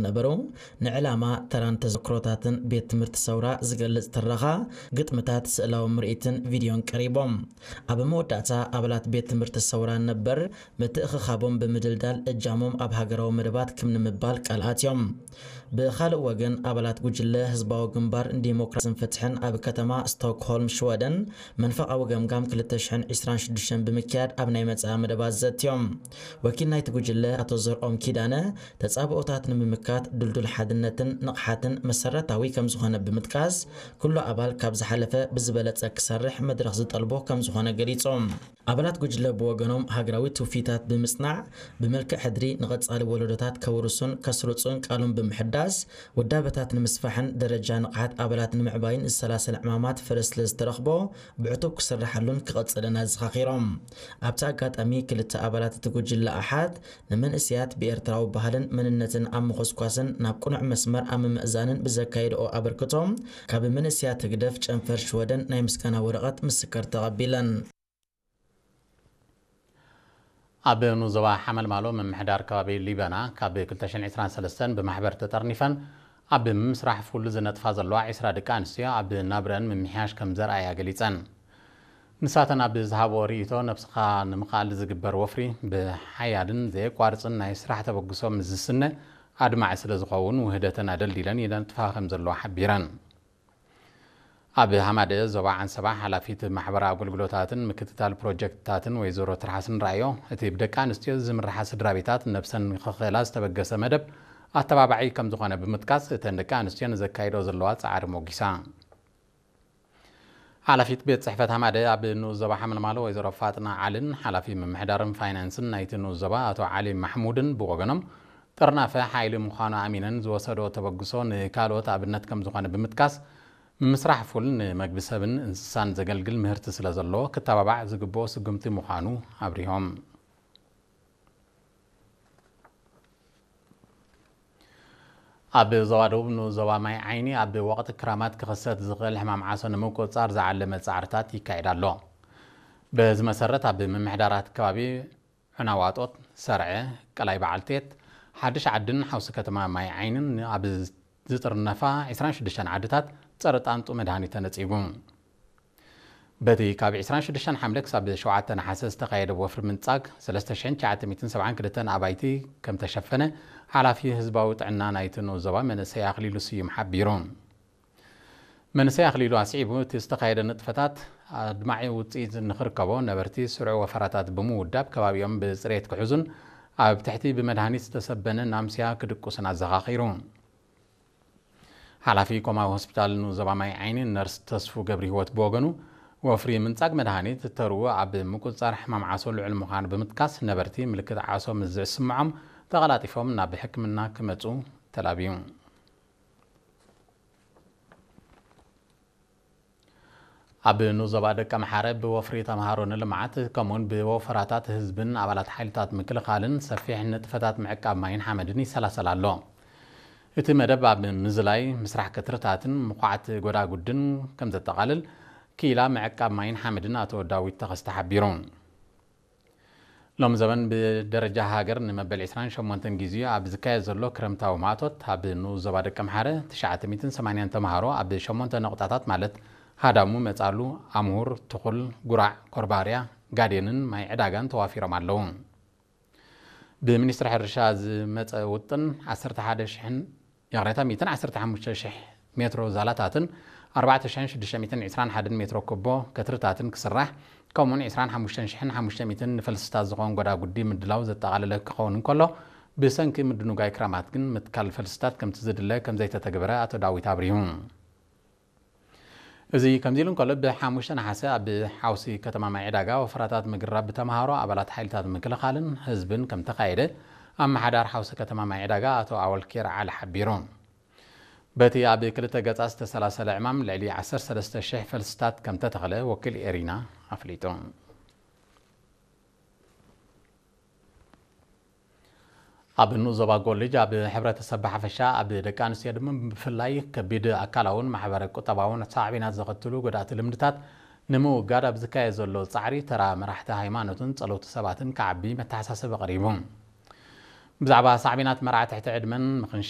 ነበሩ። ንዕላማ፣ ተራን ተዘክሮታትን ቤት ትምህርቲ ሰውራ ዝገልጽ ትረኻ፣ ግጥምታት፣ ስእላዊ ምርኢትን ቪድዮን ቀሪቦም። ኣብ መወዳእታ፣ ኣባላት ቤት ትምህርቲ ሰውራ ነበር ምትእኽኻቦም ብምድልዳል እጃሞም ኣብ ሃገራዊ መደባት ክም ንምባል ቃል ኣትዮም። ብኻልእ ወገን፣ ኣባላት ጉጅለ ህዝባዊ ግንባር ንዲሞክራስን ፍትሕን ኣብ ከተማ ስቶክሆልም ሽወደን መንፈቓዊ ገምጋም ክልተ ሽሕን ዕስራን ሽዱሽተን ብምክያድ ኣብ ናይ መጻኢ መደባት ዘትዮም። ወኪል ናይቲ ጉጅለ ኣቶ ዘርኦም ኪዳነ፣ ተጻብኦታት ንምምካት ድልዱል ሓድነትን ንቕሓትን መሰረታዊ ከም ዝኾነ ብምጥቃስ፣ ኩሉ ኣባል ካብ ዝሓለፈ ብዝበለጸ ክሰርሕ መድረኽ ዝጠልቦ ከም ዝኾነ ገሊጾም። ኣባላት ጉጅለ ብወገኖም፣ ሃገራዊ ትውፊታት ብምጽናዕ፣ ብመልክዕ ሕድሪ ንቐጻሊ ወለዶታት ከውርሱን ከስርጹን ቃሎም ብምሕዳስ፣ ውዳበታት ንምስፋሕን ደረጃ ንቕሓት ኣባላት ንምዕባይን ዝሰላሰል ዕማማት ፍረ ስለ ዝተረኽቦ፣ ብዕቱብ ክስርሓሉን ክቐጽልን ኣዘኻኺሮም። ኣብቲ ኣጋጣሚ፣ ክልተ ኣባላት እቲ ጉጅለ ኣሓት፣ ንመንእሰያት ብኤርትራዊ ባህልን መንነትን ኣብ ምኹስኳስን ናብ ቅኑዕ መስመር ኣብ ምምእዛንን ብዘካየድኦ ኣበርክቶ፣ ካብ መንእሰያት ህግደፍ ጨንፈር ሽወደን ናይ ምስጋና ወረቐት ምስክር ተቐቢለን። ኣብ ንዞባ ሓመልማሎ ምምሕዳር ከባቢ ሊበና ካብ ክልተ ሽሕን ዕስራን ሰለስተን ብማሕበር ተጠርኒፈን ኣብ ምምስራሕ ፉል ዝነጥፋ ዘለዋ ዕስራ ደቂ ኣንስትዮ ኣብ ናብረአን ምምሕያሽ ከም ዘርኣያ ገሊጸን። ንሳተን ኣብ ዝሃቦ ርእይቶ፣ ነብስኻ ንምኽኣል ዝግበር ወፍሪ ብሓያልን ዘየቋርጽን ናይ ስራሕ ተበግሶ ምስ ዝስነ ኣድማዒ ስለ ዝኸውን ውህደተን ኣደልዲለን ይነጥፋ ከም ዘለዋ ሓቢረን። ኣብ ሃማደአ ዞባ ዓንሰባ ሓላፊት ማሕበራዊ ኣገልግሎታትን ምክትታል ፕሮጀክትታትን ወይዘሮ ትርሓስን ራእዮ፣ እቲ ብደቂ ኣንስትዮ ዝምርሓ ስድራ ቤታት ነብሰን ንኽኽእላ ዝተበገሰ መደብ ኣተባባዒ ከም ዝኾነ ብምጥቃስ፣ እተን ደቂ ኣንስትዮ ንዘካይዶ ዘለዋ ጻዕሪ ሞጊሳ። ሓላፊት ቤት ጽሕፈት ሃማደአ ኣብ ንኡስ ዞባ ሓመልማሎ ወይዘሮ ፋጥና ዓልን ሓላፊ ምምሕዳርን ፋይናንስን ናይቲ ንኡስ ዞባ ኣቶ ዓሊ ማሕሙድን ብወገኖም፣ ጥርናፈ ሓይሊ ምዃኑ ኣሚነን ዝወሰዶ ተበግሶ ንካልኦት ኣብነት ከም ዝኾነ ብምጥቃስ፣ ምምስራሕ ፉል ንመግቢ ሰብን እንስሳን ዘገልግል ምህርቲ ስለ ዘለዎ ክተባባዕ ዝግብኦ ስጉምቲ ምዃኑ ኣብሪሆም። ኣብ ዞባ ደቡብ ንኡስ ዞባ ማይ ዓይኒ ኣብ ወቕቲ ክራማት ክኽሰት ዝኽእል ሕማም ዓሶ ንምቁጽጻር ዝዓለመ ጻዕርታት ይካየድ ኣሎ። በዚ መሰረት ኣብ ምምሕዳራት ከባቢ ዕናዋጦት፣ ሰርዐ፣ ቀላይ በዓልቴት፣ ሓድሽ ዓድን ሓውሲ ከተማ ማይ ዓይንን ኣብ ዝጥርነፋ ዕስራን ሽዱሽተን ዓድታት ጸረ ጣንጡ መድሃኒት ተነጺጉ። በቲ ካብ ዕስራን ሽዱሽተን ሓምለ ክሳብ ሸውዓተ ነሓሰ ዝተኻየደ ወፍሪ ምንጻግ ሰለስተ ሽሕን ትሽዓተ ሚእትን ሰብዓን ክልተን ኣባይቲ ከም ተሸፈነ ሓላፊ ህዝባዊ ጥዕና ናይቲ ንኡስ ዞባ መንእሰይ ኣኽሊሉ ስዩም ሓቢሩ። መንእሰይ ኣኽሊሉ ኣስዒቡ፣ እቲ ዝተኻየደ ንጥፈታት ኣድማዒ ውጽኢት ንኽርከቦ ነበርቲ ስሩዕ ወፈራታት ብምውዳብ ከባቢኦም ብጽሬት ክሕዙን ኣብ ትሕቲ ብመድሃኒት ዝተሰበነ ናምስያ ክድቁስን ኣዘኻኺሩ። ሓላፊ ኮማዊ ሆስፒታል ንኡስ ዞባ ማይ ዓይኒ ነርስ ተስፉ ገብረሂወት ብወገኑ፣ ወፍሪ ምንጻግ መድሃኒት ተርኡ ኣብ ምቁጽጻር ሕማም ዓሶ ልዑል ምዃኑ ብምጥቃስ፣ ነበርቲ ምልክት ዓሶ ምስ ዝስምዖም ተቐላጢፎም ናብ ሕክምና ክመጹ ተላብዩ። ኣብ ንኡስ ዞባ ደቀምሓረ ብወፍሪ ተምሃሮ ንልምዓት ከምኡውን ብወፈራታት ህዝብን ኣባላት ሓይልታት ምክልኻልን ሰፊሕ ንጥፈታት ምዕቃብ ማይን ሓመድን ይሰላሰል ኣሎ። እቲ መደብ ኣብ ምዝላይ ምስራሕ ክትርታትን ምኹዓት ጎዳጉድን ከም ዘጠቓልል ክኢላ ምዕቃብ ማይን ሓመድን ኣቶ ዳዊት ተኸስተ ሓቢሩ። ሎም ዘበን ብደረጃ ሃገር ንመበል ዕስራን ሸሞንተን ግዜ ኣብ ዝካየድ ዘሎ ክረምታዊ ማእቶት፣ ኣብ ንኡስ ዞባ ደቀምሓረ ትሽዓተ ሚእትን ሰማንያን ተምሃሮ ኣብ ሸሞንተ ነቑጣታት፣ ማለት ሃዳሙ፣ መጻሉ፣ ኣምሁር፣ ትኹል፣ ጉራዕ፣ ኮርባርያ፣ ጋዴንን ማይ ዕዳጋን ተዋፊሮም ኣለዉ። ብሚኒስትሪ ሕርሻ ዝመጸ ውጥን ዓሰርተ ሓደ ሽሕን፣ ይቕሬታ፣ ሚእትን ዓሰርተ ሓሙሽተ ሽሕ ሜትሮ ዛላታትን ኣርባዕተ ሽሕን ሽዱሽተ ሚእትን ዕስራን ሓደን ሜትሮ ኩቦ ከትርታትን ክስራሕ፣ ከምኡውን ዕስራን ሓሙሽተን ሽሕን ሓሙሽተ ሚእትን ንፈልስታት ዝኾን ጎዳጉዲ ምድላው ዘጠቓለለ ክኸውን እንከሎ፣ ብሰንኪ ምድንጓይ ክራማት ግን ምትካል ፈልስታት ከምቲ ዝድለ ከም ዘይተተግበረ ኣቶ ዳዊት ኣብሪሁ። እዚ ከምዚ ኢሉ እንከሎ፣ ብሓሙሽተ ነሓሰ ኣብ ሓውሲ ከተማ ማይ ዕዳጋ ወፈራታት ምግራብ ብተምሃሮ፣ ኣባላት ሓይልታት ምክልኻልን ህዝብን ከም ተኻየደ ኣመሓዳሪ ሓውሲ ከተማ ማይ ዕዳጋ ኣቶ ኣወል ኬር ዓሊ ሓቢሩ። በቲ ኣብ ክልተ ገጻት ዝተሰላሰለ ዕማም ልዕሊ ዓሰርተ ሰለስተ ሽሕ ፈልስታት ከም ተተኽለ ወኪል ኤሪና ኣፍሊጡ። ኣብ ንኡስ ዞባ ጎልጅ ኣብ ሕብረተሰብ ብሓፈሻ፣ ኣብ ደቂ ኣንስትዮ ድማ ብፍላይ ከቢድ ኣካላውን ማሕበረ ቁጠባውን ሳዕቤናት ዘኸትሉ ጎዳእቲ ልምድታት ንምውጋድ ኣብ ዝካየድ ዘሎ ጻዕሪ፣ ተራ መራሕቲ ሃይማኖትን ጸለውቲ ሰባትን ክዓቢ መተሓሳሰቢ ቀሪቡ። ብዛዕባ ሳዕቤናት መርዓ ትሕቲ ዕድመን ምኽንሻ